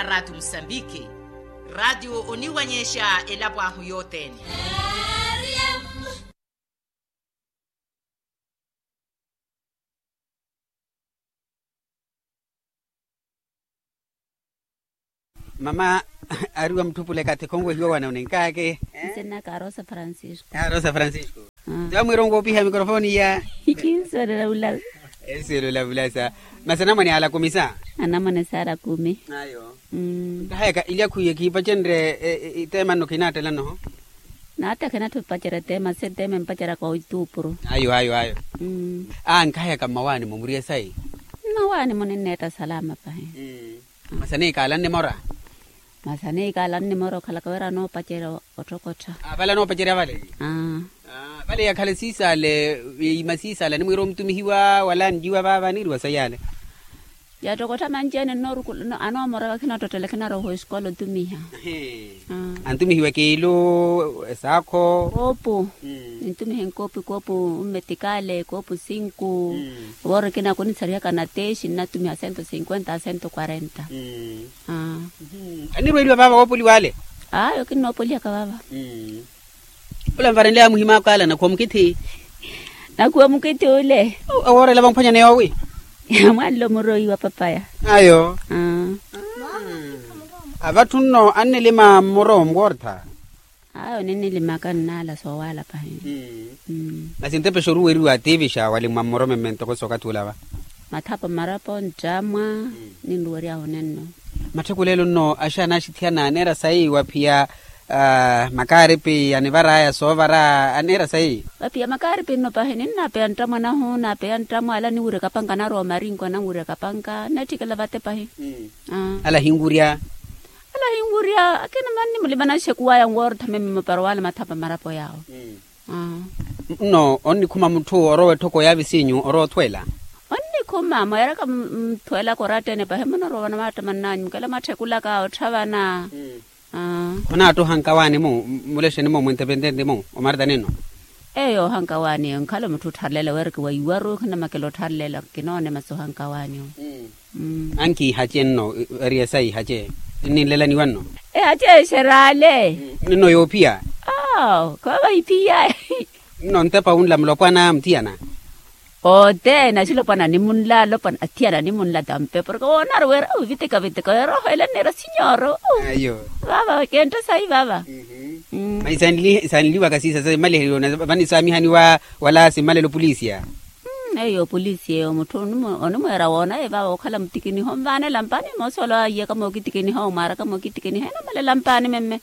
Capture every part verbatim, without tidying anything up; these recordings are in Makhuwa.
Raatio musambiki. Raatio oniwanyexa elapo ahu yothene. Mama, ari wa mutthupule kathi khonwehiwa wana oninkaake. Nsennaka rosa francisco. Rosa francisco. Tiwa mwirongo opiha mikorofoni iya. Kinsolela ula. Ensolela ula sa. Masi anamwane ala kumi sa? Anamwane sala kumi. Ayo. Nkahayaka ilya khuye khiipacenrye. Iteema nno khinaattela nno? Naatta khinatthi opacerya eteema se eteema empaceryaka oituupuru. Ayo ayo ayo. Nkahayaka mmawaani-mo muriye sayi? Mmawaani-mo ninneetta salama pahi. Masi aneikaala nnimora? Masi aneikaala nnimora okhalaka wira anoopacerya otthokottha. Vale anoopacerya vale? Vale yakhale siisaale. Yiima siisaale animwiira omutumihiwa wala anjiwa vaava aniiriwa sayi ale? Yattokottha manci ene nnoorukula anoomora vakhinattottela khinarowa ohu esikola otumiha. Antumihiwa ekiilu esaakho? Koopu. Nintumiha enkoopu ekoopu mmetikale ekoopu sinku. Woori ekina kunisarihaka na teexi nnatumiha sento sinkwenta a sento kwarenta. Anirweeliwa vaava woopoliwa ale? Ayo kinnoopolihaka vaava. Ola nvarenleya muhim'aka ala nakhuwa mukithi? Nakhuwa mukithi ule. Owoorela vamphwanyani yoowi? Mwanlo muroiwa papaya. Ayo. Avatthu nno annilima mmoro mwoortha? Ayo ninnilimaka nnaala soowaala pahi. Masi ntepe xooruweriwa atiivixa walimwa mmoro memme ntoko sookathi ula va? Mathapa marapo nttamwa. Ninruweryahu nenno. Matthekuleelo nno axaana axithiyana aneera sayi waphiya makaaripi anivar'aya soovara aneera sayi? Vaphiya makaaripi nno pahi ninnaapeya nttamwa nahu naapeya nttamwa ala niwirya kapanka narowa omarinko nanwirya kapanka nnatthikela vate pahi. Ala ahinwirya? Ala ahinwirya akina mani mulimananxe kuwaya nwoortha meme moparo wala mathapa marapo yaawo. Nno onnikhuma mutthu orowa etthoko ya visinyu orowa othweela? Onnikhuma mweeraka muthweelaka oratta ene pahi munorowa vana maattamannanyu mukela mwatthekulaka otthavana. Khonaatthuha nkawaani-mu? Mulexeni-mu mwintepententi-mu omartani nno? Eyo ohankawaani eyo nkhala mutthu ottharlela weereke wa iwaru khinamakela ottharlela kinoone masi ohankawaani. Ankiihace nno. Eriya saihace ninlelaniwa nno. Ehace exeraale. Nno yoophiya? Awo khoovaiphiya. Nno ntepa wunla mulopwana muthiyana? Othene axilopwana nimunla alopwana athiyana nimunla tampe porke woonaru wira ovitika vitika weera ohoyela nneera sinyoro. Vaava kentha sayi vaava. Sanliwaka siisa sa imaliheryo vanisaamihaniwa wala simmalelo polisia? Eyo polisi eyo mutthu onimweera woonaye vaava okhala mutikiniha onvaanela mpani moosi wala waiyaka mookitikiniha omwaaraka mookitikiniha enamalela mpani memme.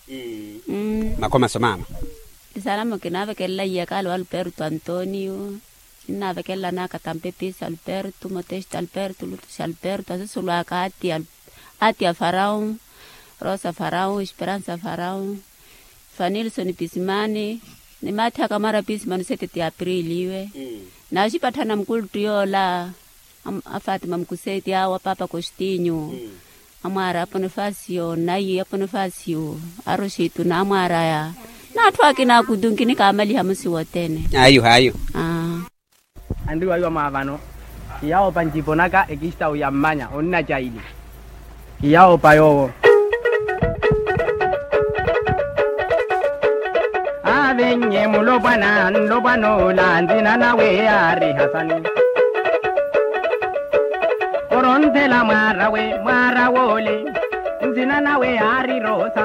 Makomaso maama. Tisalamo kinaavekelela iyaka ale wa alberto antonio. Kinnaavekelela anaka tampe pisi alberto moteste alberto lutusi alberto asusulu aka ati a faraon, rosa faraon esperansa faraon, fanilson pisimani. Ni maathi aka mara pisimani sete ti aprili iwe. Naaxipatthana mukuluttu yoola a fatima mukuseti awo a papa kostinyu. Amwaar'aya a ponifasio nayi a ponifasio, a rositu n'amwaar'aya n'atthu akina akutu nkinikamaliha musi wothene. Ayo ayo. Anriwaiwa mwaavano. Kiyawopa njipo naka ekista uyammanya onnacaili. Kiyawopa yoowo. Aavinnye mulopwana nlopwana ola nzina nawe yaari hasani. Oronthela mwaar'awe mwaar'awe ole. Nzina nawe yaari rosa.